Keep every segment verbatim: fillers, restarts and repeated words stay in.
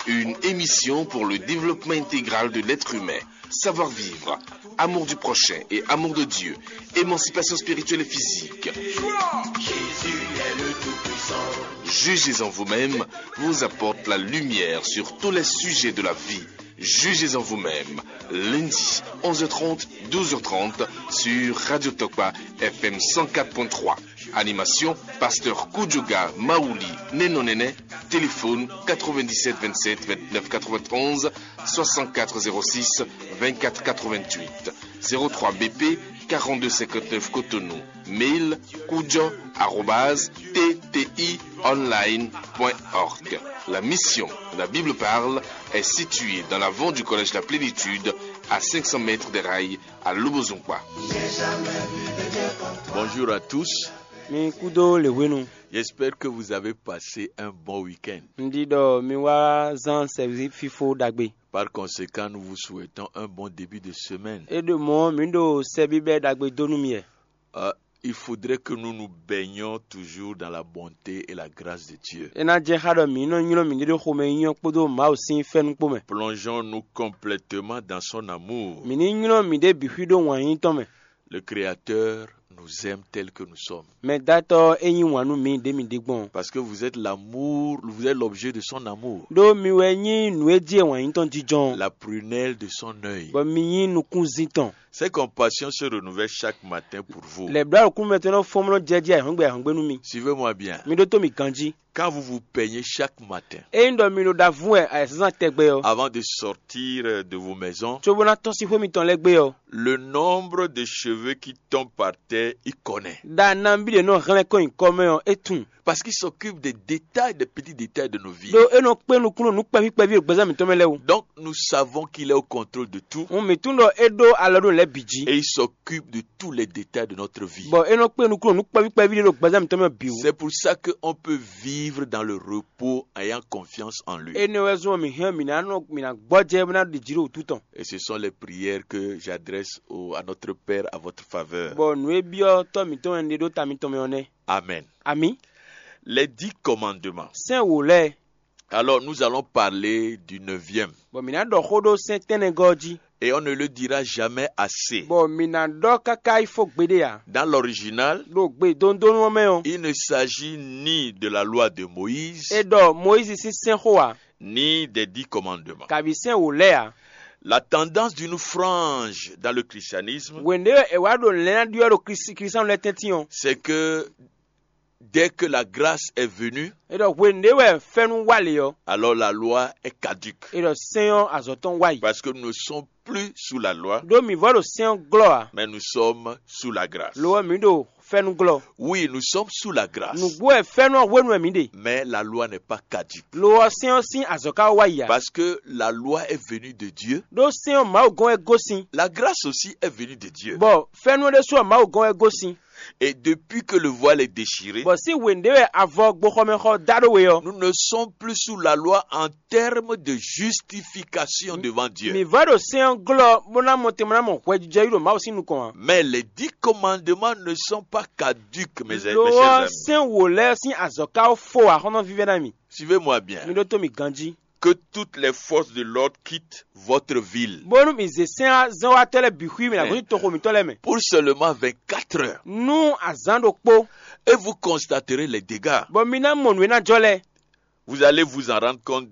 Une émission pour le développement intégral de l'être humain. Savoir-vivre, amour du prochain et amour de Dieu, émancipation spirituelle et physique. Jugez en vous-même vous apporte la lumière sur tous les sujets de la vie. Jugez en vous-même. Lundi, onze heures trente, douze heures trente, sur Radio Tokpa F M cent quatre point trois. Animation, pasteur Kudjoga Maouli Nenonene. Téléphone quatre-vingt-dix-sept vingt-sept vingt-neuf quatre-vingt-onze, soixante-quatre zéro six vingt-quatre quatre-vingt-huit, zéro trois B P quarante-deux cinquante-neuf Cotonou. Mail kudjo arobase T T I online point org. La mission, la Bible parle, est située dans l'avant du collège La Plénitude, à cinq cents mètres des rails, à Lobozungba. Bonjour à tous. Mi kúdó lě hwenu. J'espère que vous avez passé un bon week-end. Un ɖi ɖɔ mi wá zán sɛví fífó ɖagbe. Par conséquent, nous vous souhaitons un bon début de semaine. É ɖo mɔ̌, mǐ ɖo sɛ bíbɛ́ ɖagbe dó nú mi wɛ. Euh, il faudrait que nous nous baignions toujours dans la bonté et la grâce de Dieu. É ná jɛ xá ɖɔ mǐ nɔ nylɔ́ mǐɖée ɖo xomɛ nyínyɔ́ kpódó Mawu sín fɛ́nú kpó mɛ. Plongeons-nous complètement dans son amour. Mǐ ní nylɔ́ mǐɖée bǐ xwí ɖó wǎn yíyí tɔn mɛ. Le Créateur nous aime tel que nous sommes. Mɛdátɔ́ ɔ́, é yí wǎn nú mǐ ɖě mǐ ɖe gbɔn. Parce que vous êtes l'amour, vous êtes l'objet de son amour. Ɖó mi wɛ nyí nǔ e jí e wǎn yí tɔn jínjɔ́n. La prunelle de son œil. Bɔ mi nyí nukúnzín tɔn. Ses compassions se renouvellent chaque matin pour vous. Lɛ̌blá nukúnmɛ tɔn nɔ fɔ́n nɔ jɛ jí ayǐhɔ́ngbe ayǐhɔ́ngbe nú mi. Suivez-moi bien. Mi ɖótó mǐ ganjí. Quand vous vous peignez chaque matin, Ényí ɖɔ mi ɖo ɖavú wɛ ayǐsázán tɛgbɛ ɔ́, avant de sortir de vos maisons, cóbó ná tɔ́n sín xwé mitɔn lɛ́ɛ gbé ɔ́, le nombre de cheveux qui tombent par terre, il connaît. Ɖa nabí ɖě nɔ hlɛ́n kɔn nyi kɔ mɛ ɔ́, é tunwun. Parce qu'il s'occupe des détails, des petits détails de nos vies. Ɖó é nɔ kpé nukúnnú nǔ kpɛví kpɛví ɖo gbɛzán mǐtɔn mɛ lɛ́ɛ wú. Donc, nous savons qu'il est au contrôle de tout. Hǔn mǐ tunwun ɖɔ é ɖó alɔ ɖó nǔ lɛ́ɛ bǐ jí. Et il s'occupe de tous les détails de notre vie. Bɔ é nɔ kpé nukúnnú nǔ kpɛví kpɛví ɖé ɖo gbɛzán mǐtɔn mɛ bǐ wú. C'est pour ça qu'on peut vivre dans le repos, ayant confiance en lui. Énɛ́ wɛ zɔ́n mǐ hɛn mǐ ná nɔ mǐ ná gbɔjɛ́ bó ná ɖi jǐ ɖo wǔtu tɔn. Et ce sont les prières que j'adresse au, à notre Père à votre faveur. Bɔ nǔ e byɔ́ tɔ́ mǐtɔn wɛ un ɖe ɖó ta mitɔn mɛ ɔ́ nɛ́. Amen. Amǐ. Les dix commandements. Sɛ́n wǒ lɛ́ɛ. Alors, nous allons parler du neuvième. Bɔ mǐ ná ɖɔ xó ɖó sɛ́n tɛ́nnɛgɔ́ ɔ́ jí. Et on ne le dira jamais assez. Bɔ mǐ ná ɖɔ káká yi fó gbeɖé ǎ. Dans l'original, ɖo gbe dondonu ɔ́ mɛ ɔ́, il ne s'agit ni de la loi de Moïse, é ɖɔ Mɔyízi sín sɛ́nxó ǎ, ni des dix commandements, kabi sɛ́n wǒ lɛ́ɛ ǎ. La tendance d'une frange dans le christianisme, Hwenu ɖé wɛ è wǎ ɖo lɛ̌n ná ɖyɔ́ ɖo Klísu- Klísutánu lɛ́ɛ tɛ́ntin ɔ́, c'est que dès que la grâce est venue, é ɖɔ hwenu ɖé wɛ fɛ́nú wá lě ɔ́, alors la loi est caduque. É ɖɔ sɛ́n ɔ́ azɔ̌ tɔn wá yi. Parce que nous ne sommes plus sous la loi, Ɖó mǐ vɔ ɖo sɛ́n ɔ́ glɔ́ ǎ. Mais nous sommes sous la grâce. Lo ɔ́, mǐ ɖo fɛ́nú glɔ́. Oui, nous sommes sous la grâce. Nǔgbó wɛ fɛ́nú ɔ́ hwenu wɛ mǐ ɖe. Mais la loi n'est pas caduque. Lo ɔ́, sɛ́n ɔ́ sín azɔ̌ ka wá yi ǎ. Parce que la loi est venue de Dieu. Ɖó sɛ́n ɔ́ Mawu gɔ́n wɛ gosín. La grâce aussi est venue de Dieu. Bɔ fɛ́nú ɔ́ ɖésú ɔ́ Mawu gɔ́n wɛ gosín. Et depuis que le voile est déchiré, Bɔ sín hwenu ɖé wɛ avɔ gboxɔmɛxɔ da ɖó we ɔ́, nous ne sommes plus sous la loi en termes de justification devant Dieu. Mǐ vɔ ɖo sɛ́n ɔ́ glɔ́ bó ná mɔ tɛn bó ná mɔ hwɛjijɛ yí ɖo Mawu sín nukɔn ǎ. Mais les dix commandements ne sont pas caduques, mes, mes Lo chers ɔ́ amis. Sɛ́n wǒ lɛ́ɛ sín azɔ̌ ka fó ǎ, xɔ́ntɔn vívɛ́ná mi. Suivez-moi bien. Mi ɖótó mì ganjí. Que toutes les forces de l'ordre quittent votre ville. Bónú mǐ zě sɛ́n zɛ́nwatɔ́ lɛ́ɛ bǐ xwí mì nǎ gosín toxo mǐtɔn lɛ́ɛ mɛ. Pour seulement vingt-quatre heures. Nú azǎn ɖokpó. Et vous constaterez les dégâts. Bɔ mi ná mɔ nǔ e ná jɔ lɛ́ɛ. Vous allez vous en rendre compte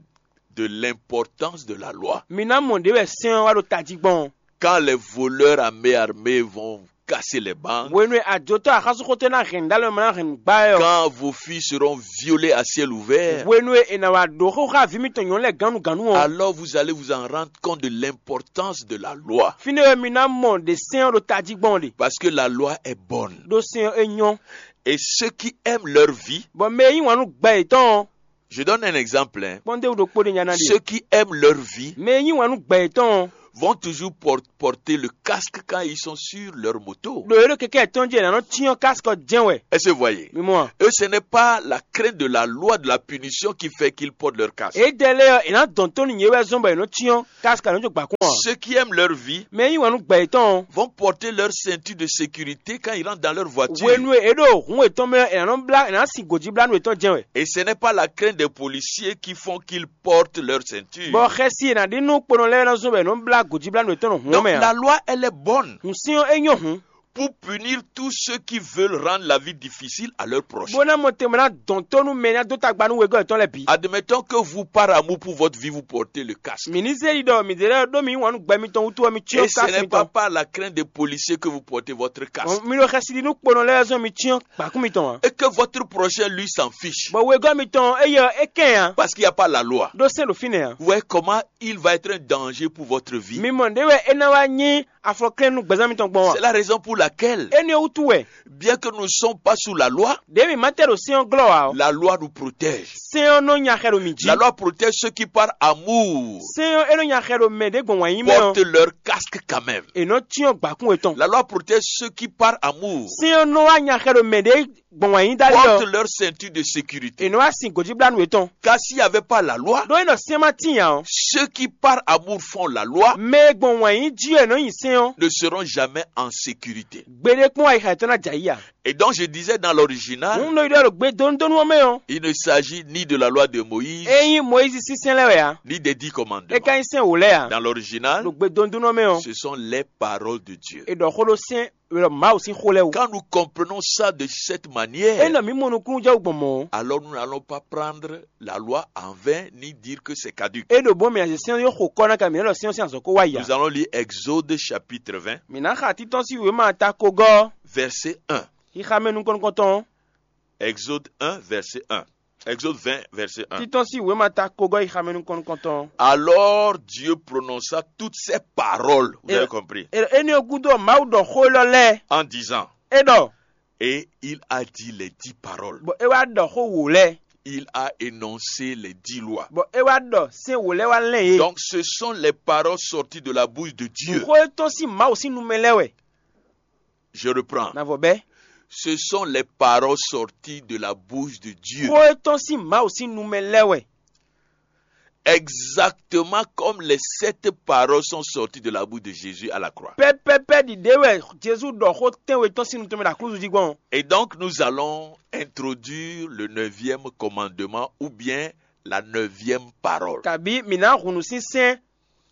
de l'importance de la loi. Mi ná mɔ ɖě wɛ sɛ́n ɔ́ wá ɖo tají gbɔn. Quand les voleurs à main armée vont casser les banques, Hwenu e ajotɔ́ axánsúnxotɔ́ ná hɛn nǔɖalɔ e ma ná hɛn nǔ gbá wɛ ɔ́, Quand vos filles seront violées à ciel ouvert, Hwenu e è nǎ wá ɖǒ xóxó aví mitɔn nyɔ̌nu lɛ́ɛ gǎnnugǎnnu ɔ́, Alors vous allez vous en rendre compte de l'importance de la loi. Fínɛ́ wɛ mi ná mɔ ɖě sɛ́n ɔ́ ɖo tají gbɔn ɔ́ ɖe. Parce que la loi est bonne. Ɖó sɛ́n ɔ́ é nyɔ́. Et ceux qui aiment leur vie, Bɔ mɛ e yí wǎn nú gbɛ yětɔn ɔ́, Je donne un exemple, hein. Kpɔ́n ɖěbǔ ɖokpó ɖé nya ná ɖe. Ceux qui aiment leur vie Mɛ e yí wǎn nú gbɛ yětɔn ɔ́, vont toujours por- porter le casque quand ils sont sur leur moto. Ɖo é ɖo kɛkɛ yětɔn jí è nǎ nɔ cyɔ́n kásikɔ jɛ́n wɛ. Est-ce que vous voyez? Mi mɔ a? Et ce n'est pas la crainte de la loi de la punition qui fait qu'ils portent leur casque. Édɛɛ lɛ́ɛ ɔ́, è nǎ dɔn tó nú yě wɛ zɔ́n bɔ è nɔ cyɔ́n kásikɔ è nɔ jó gbǎkún ǎ. Ceux qui aiment leur vie Mɛ e yí wǎn nú gbɛ yětɔn ɔ́, vont porter leur ceinture de sécurité quand ils rentrent dans leur voiture. Hwenu e è ɖo hǔn yětɔn mɛ ɔ́, è nǎ nɔ blá è nǎ sin gǒjíblánú yětɔn jɛ́n wɛ. Et ce n'est pas la crainte des policiers qui font qu'ils portent leur ceinture. Bɔ xɛsi e è nǎ ɖi nú kponɔ lɛ́ɛ ɔ́ nɔ zɔ́n bɔ è nɔ blá gǒjíblánú yětɔn ɖo hǔn ɔ́ Donc mɛ la ǎ. Loi, elle est bonne Hǔn syɔ́n é nyɔ́ hǔn, pour punir tous ceux qui veulent rendre la vie difficile à leur prochain. Bó ná mɔ tɛnmɛ ná dɔn tó nú mɛ e ná dó tagba nú wegɔ́ yětɔn lɛ́ɛ bǐ. Admettons que vous, par amour pour votre vie, vous portez le casque. Mǐ ní zé yi ɖɔ mǐɖée lɛ́ɛ ɖó mǐ yí wǎn nú gbɛ mitɔn wútu ɔ́, mi cyɔ́n kási mitɔn. Et ce n'est pas par la crainte des policiers que vous portez votre casque. Mi ɖo xɛsi ɖi nú kponɔ lɛ́ɛ zɔ́n mi cyɔ́n gbǎkún mitɔn ǎ. Et que votre prochain, lui, s'en fiche. Bɔ wegɔ́ mitɔn éyɛ́ ɔ́, é kɛn ǎ. Parce qu'il n'y a pas la loi. Ɖó sɛ́n ɖo fínɛ́ ǎ. Vous voyez comment il va être un danger pour votre vie. Mi mɔ nǔɖé wɛ é ná wá nyí afɔklɛ́n nú gbɛzán mitɔn gbɔn a? C'est la raison pour laquelle, Énɛ́ ɔ́ wútu wɛ, bien que nous ne sommes pas sous la loi, ɖěe mǐ ma tɛ ɖo sɛ́n ɔ́ glɔ́ ǎ ɔ́, la loi nous protège. Sɛ́n ɔ́ nɔ nya xɛ ɖo mǐ jí. La loi protège ceux qui, par amour, Sɛ́n ɔ́ é nɔ nya xɛ ɖo mɛ ɖě gbɔn wǎn yí mɛ ɔ́, portent leur casque quand même. È nɔ cyɔ́n gbǎkún yětɔn. La loi protège ceux qui, par amour, Sɛ́n ɔ́ nɔ wá nya xɛ ɖo mɛ ɖě gbɔn wǎn yí dálí ɔ́, portent leur ceinture de sécurité. È nɔ wá sin gǒjíblánú yětɔn. Car s'il n'y avait pas la loi, Ɖó é nɔ sɛ́n ma tíin ǎ ɔ́, ceux qui, par amour, font la loi mɛ e gbɔn wǎn yí jí wɛ è nɔ nyi sɛ́n ɔ́, ne seront jamais en sécurité. Gbeɖé kpɔ́n ayixa yětɔn ná jɛ ayǐ ǎ. Et donc, je disais dans l'original, Hǔn un ɖo yi ɖɔ ɖo gbe dónúdónú ɔ́ mɛ ɔ́, il ne s'agit ni de la loi de Moïse, é nyí Mɔyízi sín sɛ́n lɛ́ɛ wɛ ǎ. Ni des dix commandements. É ka nyí sɛ́n wǒ lɛ́ɛ ǎ. Dans l'original, Ɖo gbe dónúdónú ɔ́ mɛ ɔ́, ce sont les paroles de Dieu. È ɖɔ xó ɖó sɛ́n, è ɖɔ Mawu sín xó lɛ́ɛ wú. Quand nous comprenons ça de cette manière, Ényí mǐ mɔ nukúnnú jɛ wú gbɔn mɔ̌, alors nous n'allons pas prendre la loi en vain ni dire que c'est caduc. É ɖo bó mì azě sɛ́n yó xo kɔ́ ná ka mǐ nɔ́ ɖɔ sɛ́n ɔ́ sín azɔ̌ kó wá yi ǎ. Nous allons lire Exode chapitre vingt, Mǐ ná xa títɔ́n sín wěma ta kogɔ́, verset un. Xixa mɛ nukɔn nukɔntɔn. Exode un, verset un. Exode vingt, verset un. Títɔ́n sín wěma ta kogɔ́ xixa mɛ nukɔn nukɔntɔn. Alors Dieu prononça toutes ces paroles. Vous avez compris? Énɛ́ ɔ́ gúdo ɔ́, Mawu ɖɔ xó élɔ́ lɛ́ɛ. En disant, É ɖɔ, et il a dit les dix paroles. Bɔ é wá ɖɔ xó wǒ lɛ́ɛ. Il a énoncé les dix lois. Bɔ é wá ɖɔ sɛ́n wǒ lɛ́ɛ wá lɛ́n yě. Donc, ce sont les paroles sorties de la bouche de Dieu. Xó e tɔ́n sín Mawu sín nu mɛ lɛ́ɛ wɛ. Je reprends. Navɔ bɛ́. Ce sont les paroles sorties de la bouche de Dieu. Xó e tɔ́n sín Mawu sín nu mɛ lɛ́ɛ wɛ. Exactement comme les sept paroles sont sorties de la bouche de Jésus à la croix. Pɛ́pɛ́pɛ́ ɖiɖě wɛ Jezu ɖɔ xó tɛ́nwe tɔn sín nu tɔn mɛ ɖo aklúzu jí gbɔn. Et donc, nous allons introduire le neuvième commandement ou bien la neuvième parole. Kabǐ mǐ ná hun nǔ sín sɛ́n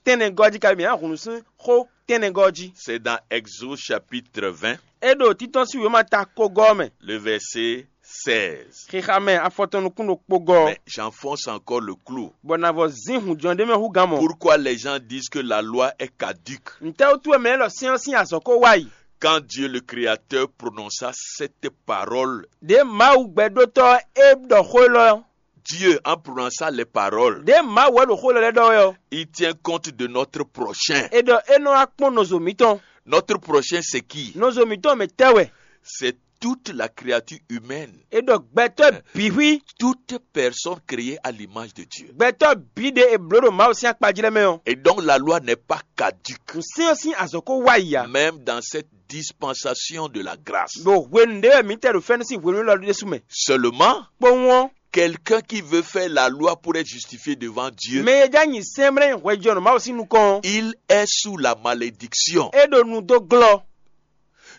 tɛ́nnɛgɔ́ jí, kabǐ mǐ ná hun nǔ sín xó tɛ́nnɛgɔ́ jí. C'est dans Exode chapitre vingt, É ɖo títɔ́n sín wěma ta kogɔ́ ɔ́ mɛ. Le verset seize. Xixa mɛ afɔtɔn nukún ɖokpó gɔ́. Mais j'enfonce encore le clou. Bɔ nǎ vɔ zín hǔnjɔ́n ɖé mɛ hú gán mɔ. Pourquoi les gens disent que la loi est caduque? Ntɛ́ wútu wɛ mɛ lɛ́ɛ ɖɔ sɛ́n ɔ́ sín azɔ̌ ko wá yi? Quand Dieu le Créateur prononça cette parole, Ɖě Mawu gbɛɖótɔ́ é ɖɔ xó élɔ́ ɔ́, Dieu, en prononçant les paroles, Ɖě Mawu wɛ ɖo xó élɔ́ lɛ́ɛ ɖɔ wɛ ɔ́, Il tient compte de notre prochain. É ɖɔ é nɔ wá kpɔ́n nɔzo mǐtɔn. Notre prochain, c'est qui? Nɔzo mǐtɔn mɛ tɛ́ wɛ? C'est toute la créature humaine. É ɖɔ gbɛtɔ́ bǐ xwí. Toute personne créée à l'image de Dieu. Gbɛtɔ́ bǐ ɖe è blǒ ɖo Mawu sín akpa jí lɛ́ɛ mɛ ɔ́. Et donc la loi n'est pas caduque. Nǔsɛ́n ɔ́ sín azɔ̌ ko wá yi ǎ. Même dans cette dispensation de la grâce. Ɖo hwenu ɖé wɛ mǐ tɛ ɖo fɛ́nú sín hwenu élɔ́ ɖésú mɛ. Seulement, Kpowun ɔ́, quelqu'un qui veut faire la loi pour être justifié devant Dieu, mɛ e já nyi sɛ́nmlɛ́ hwɛjɔnɔ Mawu sín nukɔn ɔ́, Il est sous la malédiction. É ɖo nu dó glɔ́.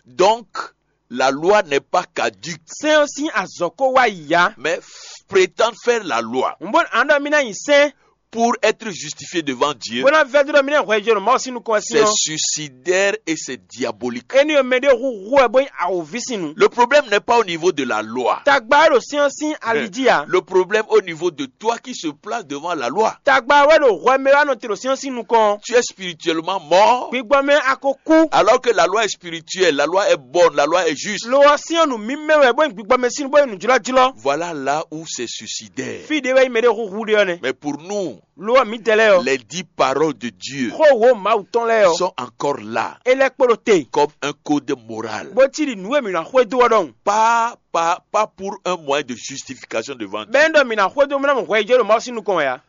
Donc, la loi n'est pas caduque. Sɛ́n ɔ́ sín azɔ̌ ko wá yi ǎ. Mais f- prétendre faire la loi Un bó ǎ ɖɔ mì ná nyi sɛ́n pour être justifié devant Dieu, bó ná vɛ́ dó ɖɔ mì ná hwɛjɔnɔ Mawu sín nukɔn wɛ sín c'est ɔ́, suicidaire et c'est diabolique. Éní ɔ́ mɛ ɖé hu hu wɛ bó nyí awǒvi sín nu. Le problème n'est pas au niveau de la loi. Tagba wɛ ɖo sɛ́n ɔ́ sín ali jí ǎ. Le problème au niveau de toi qui se place devant la loi. Tagba wɛ ɖo hwɛ mɛ wá nɔ te ɖo sɛ́n ɔ́ sín nukɔn. Tu es spirituellement mort. Gbigbɔ mɛ a ko kú. Alors que la loi est spirituelle, la loi est bonne, la loi est juste. Lo ɔ́ sɛ́n ɔ́ nu mǐmɛ́ wɛ bó nyí gbigbɔ mɛ sín nu bó nyí nǔjlɔ́jlɔ́. Voilà là où c'est suicidaire. Fí ɖé wɛ nyí mɛ ɖé hu hu ɖé ɔ́ nɛ́. Mais pour nous, Lo ɔ́ mǐdɛɛ lɛ́ɛ ɔ́, les dix paroles de Dieu xó wǒ Mawu tɔn lɛ́ɛ ɔ́, Sont encore là é lɛ́ kpo ɖo te, comme un code moral. Bó cí ɖi nǔ e mǐ ná xwedó ɔ́ ɖɔhun. Pas, pas, pas pour un moyen de justification devant Dieu. Bɛ́ ɖɔ mǐ ná xwedó mɔ ná mɔ hwɛ yi jɛ ɖo Mawu sín nukɔn wɛ ǎ.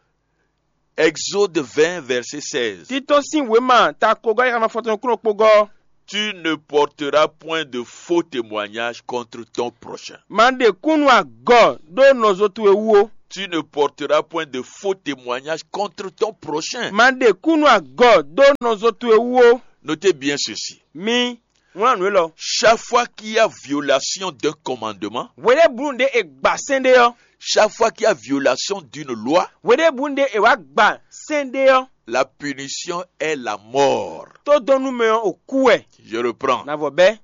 Exode vingt, verset seize. Títɔ́n sín wěma ta kogɔ́ yíxana fɔtɔn kúnɔ kpogɔ́. Tu ne porteras point de faux témoignages contre ton prochain. Ma ɖe kúnnu agɔ ɖó nɔzo towe wú ó. Tu ne porteras point de faux témoignages contre ton prochain. Ma ɖe kúnnu agɔ ɖó nɔzo towe wú ó. Notez bien ceci. Mi wlán nǔ élɔ́. Chaque fois qu'il y a violation d'un commandement, Hweɖěbǔnu ɖé è gba sɛ́n ɖé ɔ́, chaque fois qu'il y a violation d'une loi, hweɖěbǔnu ɖé è wá gba sɛ́n ɖé ɔ́, la punition est la mort. tó dɔn nú mɛ ɔ́ ò kú wɛ. Je reprends. Na vɔ bɛ́.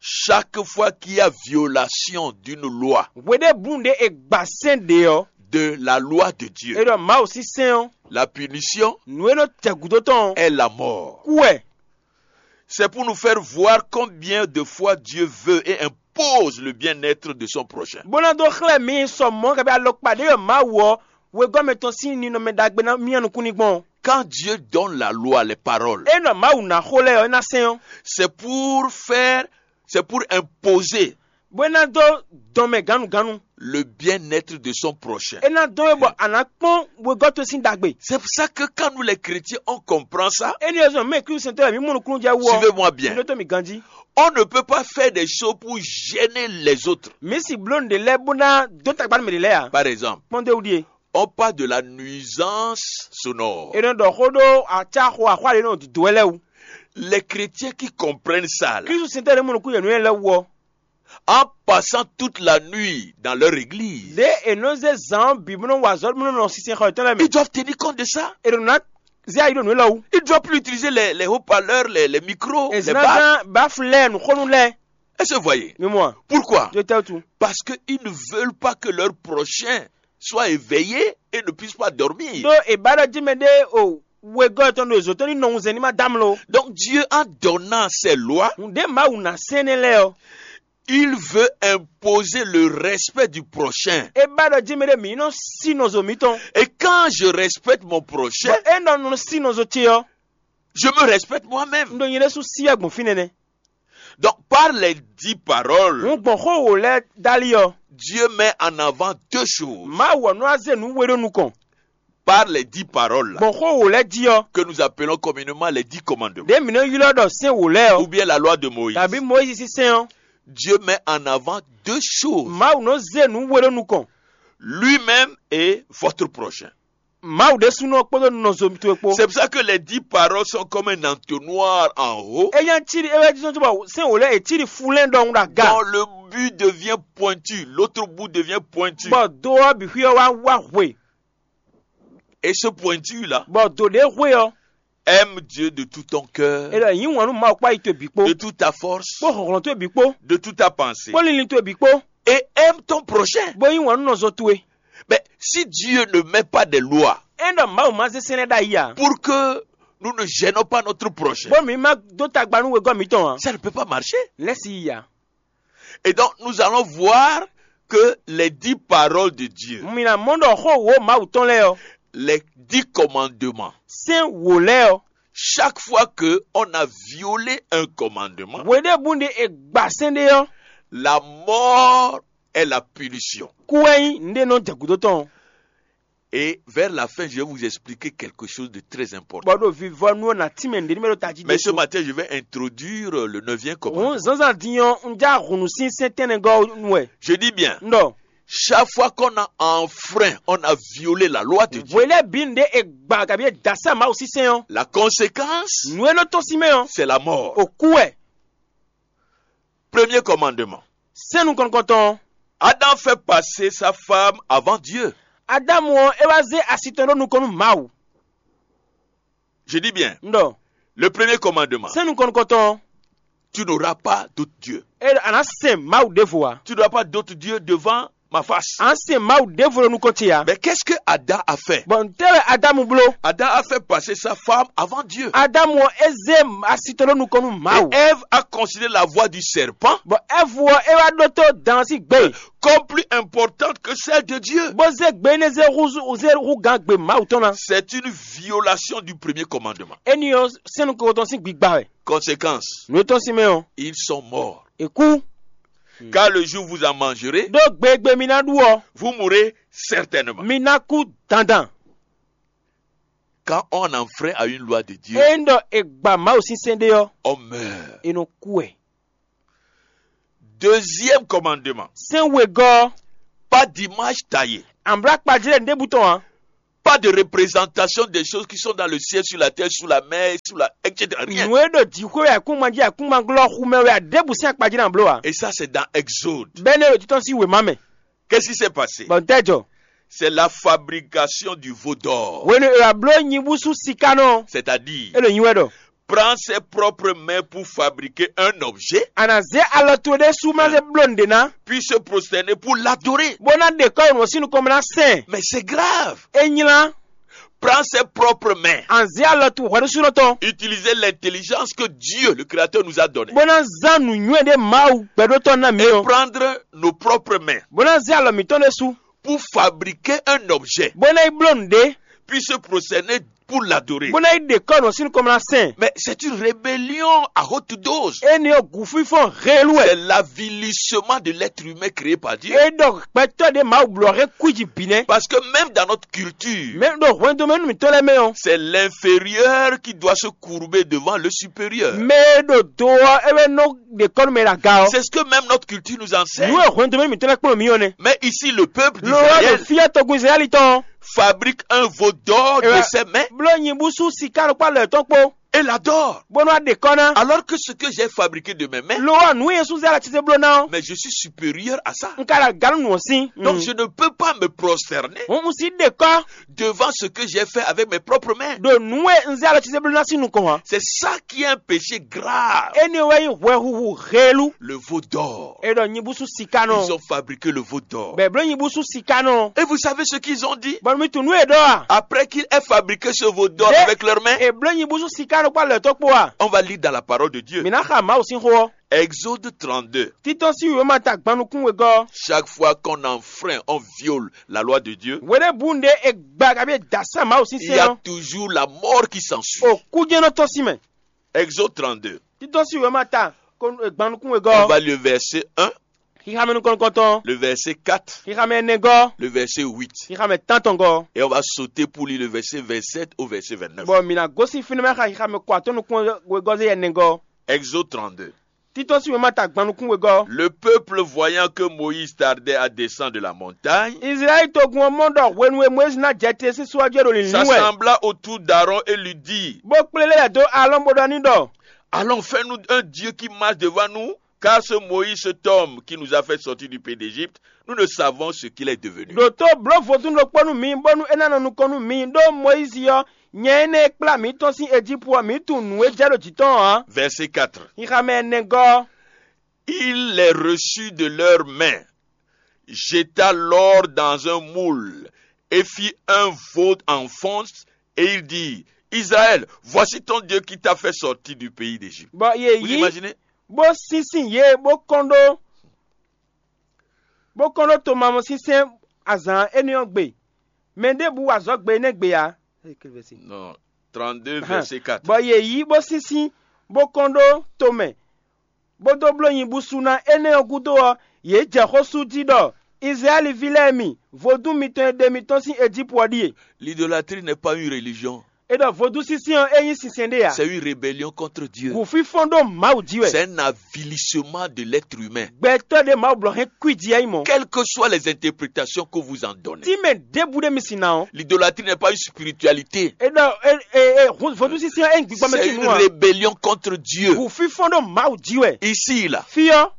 Chaque fois qu'il y a violation d'une loi, Hweɖěbǔnu ɖé è gba sɛ́n ɖé ɔ́, de la loi de è Dieu, ɖɔ Mawu sín sɛ́n ɔ́, la punition nǔ e nɔ jɛ gǔdo tɔn ɔ́, est la mort. kú wɛ. C'est pour nous faire voir combien de fois Dieu veut et impose le bien-être de son prochain. Bó ná dó xlɛ́ mǐ sɔ mɔ̌ kabi alɔkpa ɖé yɔ Mawu ɔ́, wegɔ́mɛ tɔn sín ninɔmɛ ɖagbe ná myá nukún ní gbɔn. Quand Dieu donne la loi, les paroles, É nɔ Mawu ná xó lɛ́ɛ ɔ́, é ná sɛ́n ɔ́, c'est pour faire, c'est pour imposer bó é ná dó dɔn mɛ gǎnugǎnu. Le bien-être de son prochain. É ná dɔn é bɔ a nǎ kpɔ́n wegɔ́ towe sín ɖagbe. C'est pour ça que quand nous les chrétiens, on comprend ça, Énɛ́ ɔ́ zɔn mɛ Klísu sɛntɔ́ mǐ mɔ nukúnnú jɛ wú ɔ́, suivez-moi bien. Mǐ ɖótó mǐ ganjí. On ne peut pas faire des choses pour gêner les autres. Mǐ si bló nǔɖé lɛ́ɛ bó ná dó tagba nú mɛ ɖě lɛ́ɛ ǎ. Par exemple, Kpɔ́n dó wú ɖíe. On parle de la nuisance sonore. È nɔ ɖɔ xó ɖó acáxo axwá ɖě nɔ dǒdó wɛ lɛ́ɛ wú. Les chrétiens qui comprennent ça, là, Klísu sɛntɔ́ ɖě mɔ nukún yě nú yɛ lɛ́ɛ wú ɔ́, en passant toute la nuit dans leur église, ɖě è nɔ zé zǎn ɔ́ bǐ bó nɔ wa azɔ̌ bó nɔ nɔ sinsɛnxɔ yětɔn lɛ́ɛ mɛ. Ils doivent tenir compte de ça. È nɔ ná zé ayi ɖo nǔ élɔ́ wú. Ils doivent plus utiliser les, les haut-parleurs, les, les micros, È les zǎn bacs. gán báflɛ́ɛ nǔxónú lɛ́ɛ. Est-ce que vous voyez? Mi mɔ a? Pourquoi? Tó tɛ́ tu. Parce qu'ils ne veulent pas que leur prochain soit éveillé et ne puisse pas dormir. Ɖó è ba ɖɔ jí mɛ ɖé o wegɔ́ tɔn ɖo zǒ tɔn ní nɔ wunzɛn ní ma dá mló. Donc Dieu, en donnant ses lois, Nǔɖé Mawu ná sɛn nɛ́ lɛ́ɛ ɔ́, il veut imposer le respect du prochain. é ba ɖɔ jí mɛ ɖé mǐ nɔ sí nɔzo mǐtɔn. Et quand je respecte mon prochain, Bɔ é nɔ nɔ sí nɔzo ce ɔ́, je me respecte moi-même. un ɖo nyɛ ɖésú sí wɛ gbɔn fínɛ́ nɛ́. Donc par les dix paroles, Hǔn gbɔn xó wǒ lɛ́ɛ dali ɔ́, Dieu met en avant deux choses. Mawu ɔ́ nɔ wá zé nǔ we ɖó nukɔn. Par les dix paroles là, Gbɔn xó wǒ lɛ́ɛ jí ɔ́, que nous appelons communément les dix commandements, ɖě mǐ nɔ ylɔ́ ɖɔ sɛ́n wǒ lɛ́ɛ ɔ́, ou bien la loi de Moïse, tàbí Mɔyízi sín sɛ́n ɔ́, Dieu met en avant deux choses, Mawu nɔ zé nǔ we ɖó nukɔn. Lui-même et votre prochain. Mawu ɖésúnɔ kpódó nɔzo towe kpó. C'est pour ça que les dix paroles sont comme un entonnoir en haut, É nyá cí ɖi é wɛ jí sɔ́ bɔ sɛ́n wǒ lɛ́ɛ è cí ɖi fulɛ́n ɖɔhun ɖo aga. Dont le but devient pointu, l'autre bout devient pointu. Bɔ do ɔ́ bǐ xwí ɔ́ wá wá hwe. Et ce pointu-là, Bɔ do ɖě hwe ɔ́, aime Dieu de tout ton cœur, è ɖɔ yǐ wǎn nú Mawu kpó ayi towe bǐ kpó, de toute ta force, kpó hlɔ̌nhlɔ́n towe bǐ kpó, de toute ta pensée. Kpó linlin towe bǐ kpó. Et aime ton prochain. Bó yí wǎn nú nɔzo towe. Mais si Dieu ne met pas des lois, É ɖɔ Mawu ma zé sɛ́n lɛ́ɛ ɖ'ayǐ ǎ. Pour que nous ne gênons pas notre prochain, Bó mǐ ma dó tagba nú wegɔ́ mǐtɔn ǎ. Ça ne peut pas marcher. Lɛ́ si yi ǎ. Et donc, nous allons voir que les dix paroles de Dieu, Mǐ ná mɔ ɖɔ xó wǒ Mawu tɔn lɛ́ɛ ɔ́, les dix commandements, sɛ́n wǒ lɛ́ɛ ɔ́, chaque fois que on a violé un commandement, hweɖěbǔ ɖe è gba sɛ́n ɖé ɔ́, la mort est la punition. Kú wɛ nyí nǔɖé nɔ jɛ gǔdo tɔn. Et vers la fin, je vais vous expliquer quelque chose de très important. Bɔ ɖo vivɔnu ɔ́ ná tínmɛ nǔɖé ní mɛ ɖo tají. Mais ce matin, je vais introduire le neuvième commandement. Òun zǎnzǎn din ɔ́, un já hǔnú sín sɛ́n tɛnɛgɔ́ nu wɛ. Je dis bien, Un ɖɔ chaque fois qu'on a enfreint, on a violé la loi de Dieu. Hwelɛ́ bǐ nǔɖé è gba kabi è da sá Mawu sín sɛ́n ɔ́, La conséquence, nǔ e nɔ tɔ́n sín mɛ ɔ́, c'est la mort. ò kú wɛ. Premier commandement. Sɛ́n nukɔn nukɔntɔn ɔ́, Adam fait passer sa femme avant Dieu. Adamu ɔ́, é wá zé asi tɔn ɖó nukɔn nú Mawu. Je dis bien, Un ɖɔ le premier commandement. Sɛ́n nukɔn nukɔntɔn ɔ́, Tu n'auras pas d'autre Dieu. é ɖɔ a nǎ sɛn Mawu ɖěvo ǎ. Tu n'auras pas d'autre Dieu devant ma face. A nǎ sɛn Mawu ɖěvo ɖo nukɔn ce ǎ. Mais qu'est-ce que Adam a fait? Bɔ nǔtɛ́ wɛ Adamu bló? Adam a fait passer sa femme avant Dieu. Adamu ɔ́, é zé asi tɔn ɖó nukɔn nú Mawu. Et Ève a considéré la voie du serpent Bɔ Ɛvu ɔ́, é wá ɖótó dan ɔ́ sín gbe, comme plus importante que celle de Dieu. Bó zé gbe énɛ́ zé hú zé hú gán gbe Mawu tɔn ná. C'est une violation du premier commandement. Éní ɔ́, sɛ́n nukɔntɔn sín gbigba wɛ. Conséquence, Nǔ e tɔ́n sín mɛ ɔ́, ils sont morts. è kú. Car le jour où vous en mangerez, Ɖó gbe e gbe mi ná ɖu ɔ́, vous mourrez certainement. Mi ná kú dandan. Quand on enfreint à une loi de Dieu, ényí ɖɔ è gba Mawu sín sɛ́n ɖé ɔ́, on meurt. È nɔ kú wɛ. Deuxième commandement, Sɛ́n wegɔ́ ɔ́, pas d'image taillée, amblá kpajlɛ́ ɖěbǔ tɔn ǎ. Pas de représentation des choses qui sont dans le ciel, sur la terre, sous la mer, sous la, et cetera. Rien. Nǔ e ɖo jǐxwé wɛ ayǐkúngban jí ayǐkúngban glɔ́ xu mɛ wɛ ǎ, ɖěbǔ sín akpa jí ná bló ǎ. Et ça, c'est dans Exode. Bɛ́ nɛ́ ɖo títɔ́n sín wěma mɛ. Qu'est-ce qui s'est passé? Bɔ ntɛ́ jɔ? C'est la fabrication du veau d'or. Hwenu e è wá bló nyibúsú siká nɔ, C'est-à-dire, é ɖo nyi wɛ ɖɔ prends ses propres mains pour fabriquer un objet, a nǎ zé alɔ towe ɖésú má zé bló nǔɖé ná, puis se prosterner pour l'adorer. Bó ná ɖe kɔ́ nǔ ɔ́ sín nukɔn mɛ ná sɛn. Mais c'est grave. É nylá. Prends ses propres mains. A nǎ zé alɔ towe hwɛɖósúnɔ tɔn, Utilisez l'intelligence que Dieu, le Créateur, nous a donnée. Bó ná zán nǔnywɛ́ ɖé Mawu gbɛɖótɔ́ ná mǐ ɔ́, Prendre nos propres mains bó ná zé alɔ mǐtɔn ɖésú, pour fabriquer un objet, bó ná yi bló nǔɖé, puis se prosterner pour l'adorer. Bó ná yi ɖe kɔ́ nǔ ɔ́ sín nukɔn mɛ ná sɛn. Mais c'est une rébellion à haute dose. Énɛ́ ɔ́, gǔfínfɔ́n heelú wɛ. C'est l'avilissement de l'être humain créé par Dieu. É ɖɔ gbɛtɔ́ ɖě Mawu bló ɔ́ hɛn kwíji bǐ nɛ́. Parce que même dans notre culture, Mɛ ɖo hwɛndo mɛ nú mǐtɔn lɛ́ɛ mɛ ɔ́, c'est l'inférieur qui doit se courber devant le supérieur. Mɛ e ɖo do ɔ́, é wɛ nɔ ɖe kɔ́ nú mɛ e ɖo aga ɔ́. C'est ce que même notre culture nous enseigne. Nǔ e hwɛndo mɛ nú mǐtɔn lɛ́ɛ kplɔ́n mǐ ɔ́ nɛ́. Mais ici, le peuple Lo ɔ́ ɖo d'Israël fí ɔ́ togun Israɛ́li tɔn ɔ́, fabrique un veau d'or de ses mains bló nyibúsú siká ɖokpó alɔ yětɔn kpó, et l'adore. Bónú wá ɖe kɔ́ ná. Alors que ce que j'ai fabriqué de mes mains, Lo ɔ́, nǔ e Jezu zé alɔ ce bló ná ɔ́, Mais je suis supérieur à ça. Un ka ɖo aga nú nǔ ɔ́ sín. Donc je ne peux pas me prosterner Hǔn un sixú ɖe kɔ́ devant ce que j'ai fait avec mes propres mains. Ɖo nǔ e un zé alɔ ce bló ná sín nukɔn ǎ. C'est ça qui est un péché grave. Énɛ́ wɛ nyí hwɛhuhu heelú. Le veau d'or. É ɖɔ nyibúsú siká nɔ. Ils ont fabriqué le veau d'or. Bɔ è bló nyibúsú siká nɔ. Et vous savez ce qu'ils ont dit? Bɔ mi tunwun nú è ɖɔ a? Après qu'il ait fabriqué ce veau d'or avec leurs mains, È bló nyibúsú siká nɔ kpó alɔ yětɔn kpó a? On va lire dans la parole de Dieu. Mǐ ná xa Mawu sín xó ɔ́. Exode trente-deux. Títɔ́n sín wěma ta gban nukún wegɔ́. Chaque fois qu'on enfreint, on viole la loi de Dieu, Hweɖěbǔ ɖě è gba kabi è da sɛ́n Mawu sín il y sɛ́n a ɔ́, toujours la mort qui s'ensuit. Òkú jɛ́n nɔ tɔ́n sín mɛ. Exode trente-deux. Títɔ́n sín wěma ta gban nukún wegɔ́. On va lire le verset un, Xixamɛ nukɔn nukɔntɔn. Le verset quatre, Xixamɛ ɛnɛgɔ́. Le verset huit. Xixamɛ tántɔngɔ́. Et on va sauter pour lire le verset vingt-sept au verset vingt-neuf. Bɔ mǐ ná gosín fínɛ́ mɛ xa xixamɛ kɔ atɔ́ nukún wegɔ́ zé yɛ nɛgɔ́. Exode trente-deux. Títɔ́n sín wěma ta gban nukún wegɔ́. Le peuple, voyant que Moïse tardait à descendre de la montagne, Izlayɛ́li togun ɔ́ mɔ ɖɔ hwenu e Mɔyízi ná jɛ te sín só ɔ́ jí é ɖo lǐnlín wɛ. S'assembla autour d'Aaron et lui dit, Bó kplé lɛ́ lɛ̌ dó Alɔ́ɔn bó ɖɔ n'i ɖɔ: Allons, fais-nous un Dieu qui marche devant nous, car ce Moïse, cet homme qui nous a fait sortir du pays d'Égypte, nous ne savons ce qu'il est devenu. Ɖǒtó blǒ vodún ɖokpó nú mi, bónú é ná nɔ nukɔn nú mi, ɖó Mɔyízi ɔ́, nyɛ énɛ́ e kplá mǐ tɔ́n sín Ejípu ɔ́, mǐ tunwun nǔ e jɛ ɖo jǐ tɔn ǎ. Verset quatre. Xixamɛ ɛnɛgɔ́. Il les reçut de leurs mains, jeta l'or dans un moule et fit un veau en fonte, et il dit, Israël, voici ton Dieu qui t'a fait sortir du pays d'Égypte. Bɔ yě Vous yí imaginez? Bó sínsín yě bó kɔn ɖó bó kɔn ɖó tomamɔsínsɛ́n azǎn énɛ́ ɔ́ gbe. Mɛ ɖěbǔ wa azɔ̌ gbe énɛ́ gbe ǎ. Non, trente-deux, verset quatre. Bɔ yě yí bó sínsín bó kɔn ɖó tomɛ, bó dó bló nyibúsú ná énɛ́ ɔ́ gúdo ɔ́, yě jɛ xó sú jí ɖɔ Izlayɛ́li ví lɛ́ɛ mi, vodún mitɔn e ɖe mi tɔ́n sín Ejípu ɔ́ ɖíe. L'idolâtrie n'est pas une religion. É ɖɔ vodúnsínsɛ́n ɔ́, é nyí sinsɛn ɖé ǎ. C'est une rébellion contre Dieu. Gǔfínfɔ́n ɖó Mawu jí wɛ. C'est un avilissement de l'être humain. Gbɛtɔ́ ɖé Mawu blɔ hɛn kwíji ɛ nyí mɔ̌. Quelles que soient les interprétations que vous en donnez, Tí mɛ ɖěbǔ ɖé mi sin ná ɔ́, l'idolâtrie n'est pas une spiritualité. É ɖɔ é é é vodúnsínsɛ́n ɔ́, é nyí gbígbá mɛ C'est sín une nú ǎ. Rébellion contre Dieu. Gǔfínfɔ́n ɖó Mawu jí wɛ. Ici, là, Fí ɔ́,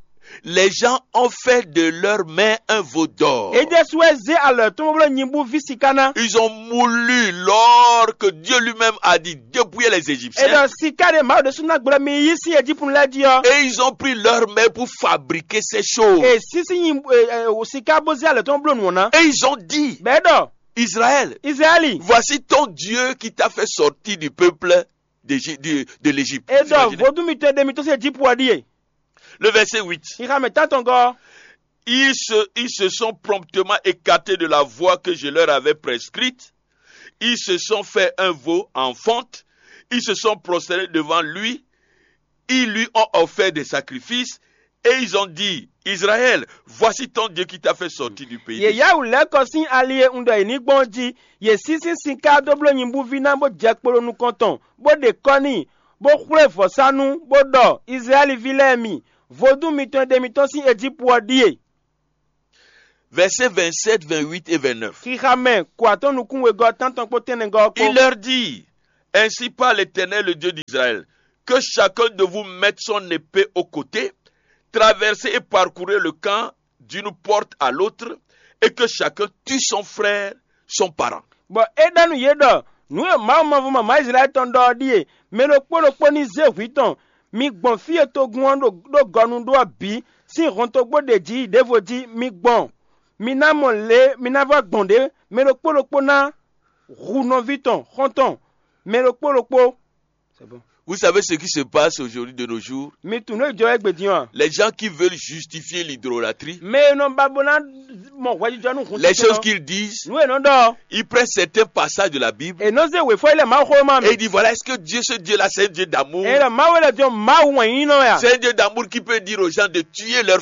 les gens ont fait de leurs mains un veau d'or. É ɖésú wɛ zé alɔ tɔn bó bló nyibú ví siká ná. Ils ont moulu l'or que Dieu lui-même a dit dépouillez les Égyptiens. É ɖɔ siká ɖé Mawu ɖésú ná gblɔ mi yí sín Ejípu lɛ́ɛ jí ɔ́. Et ils ont pris leurs mains pour fabriquer ces choses. É sísí nyi é é siká bó zé alɔ tɔn bló nǔ ɔ́ ná. Et ils ont dit, Bɛ̌ ɖɔ Israël, Izlayɛ́li, voici ton Dieu qui t'a fait sortir du peuple d'Égy- du- de l'Égypte. É Vous ɖɔ imaginez? Vodún mitɔn e ɖe mi tɔ́n sín Ejípu ɔ́ ɖíe. Le verset huit. Xixamɛ tántɔngɔ́. Ils se, ils se sont promptement écartés de la voie que je leur avais prescrite. Ils se sont fait un veau en fonte. Ils se sont prosternés devant lui. Ils lui ont offert des sacrifices. Et ils ont dit, Israël, voici ton Dieu qui t'a fait sortir du pays d'Égypte. Yě yá wǔ lɛ́ kɔ sín ali e un ɖɔ yě ní gbɔn ɔ́ jí; yě sín sín sinká dó bló nyibúví ná, bó jɛ kpo ɖo nukɔn tɔn, bó ɖe kɔ́ n'i, bó xwlé vɔ̌sánú, bó ɖɔ: Izlayɛ́li ví lɛ́ɛ mi, vodún mitɔn e ɖe mi tɔ́n sín Ejípu ɔ́ ɖíe. Versets vingt-sept, vingt-huit et vingt-neuf. Xixa mɛ kɔ atɔ́ nukún wegɔ́ tántɔn kpó tɛ́nnɛgɔ́ ɔ́ kpó. Il leur dit, ainsi parle l'Éternel, le Dieu d'Israël, que chacun de vous mette son épée au côté, traversez et parcourez le camp d'une porte à l'autre, et que chacun tue son frère, son parent. Bɔ é ɖɔ nú yě ɖɔ: Nǔ e Mawu mavɔ mamá Izlayɛ́li tɔn ɖɔ ɔ́ ɖíe: mɛ ɖokpó ɖokpó ní zé hwǐ tɔn; mi gbɔn fí e togun ɔ́ ɖo ɖó gɔnu ɖó ɔ́ bǐ sín hɔntogbó ɖe jí yi ɖěvo jí; mi gbɔn, mi ná mɔ lě mi ná vɔ́ gbɔn ɖě; mɛ ɖokpó ɖokpó ná hu nɔví tɔn xɔ́ntɔn, mɛ ɖokpó ɖokpó. C'est bon. Vous savez ce qui se passe aujourd'hui de nos jours? Mi tunwun nǔ e jɔ wɛ égbé din ɔ́ a? Les gens qui veulent justifier l'idolâtrie, Mɛ e nɔ ba bó ná mɔ hwɛjijɔ nú hun les titun choses ɔ́, qu'ils disent, nǔ e nɔ ɖɔ ɔ́, ils prennent certains passages de la Bible è nɔ zé wěfɔ yi lɛ Mawuxówéma et mɛ. Ils disent, voilà, est-ce que Dieu, ce Dieu-là, c'est un Dieu d'amour? Eye ɖɔ Mawu e lɛ din ɔ́, Mawu wɛn nyí nɔ wɛ a? C'est un Dieu d'amour qui peut dire aux gens de tuer leurs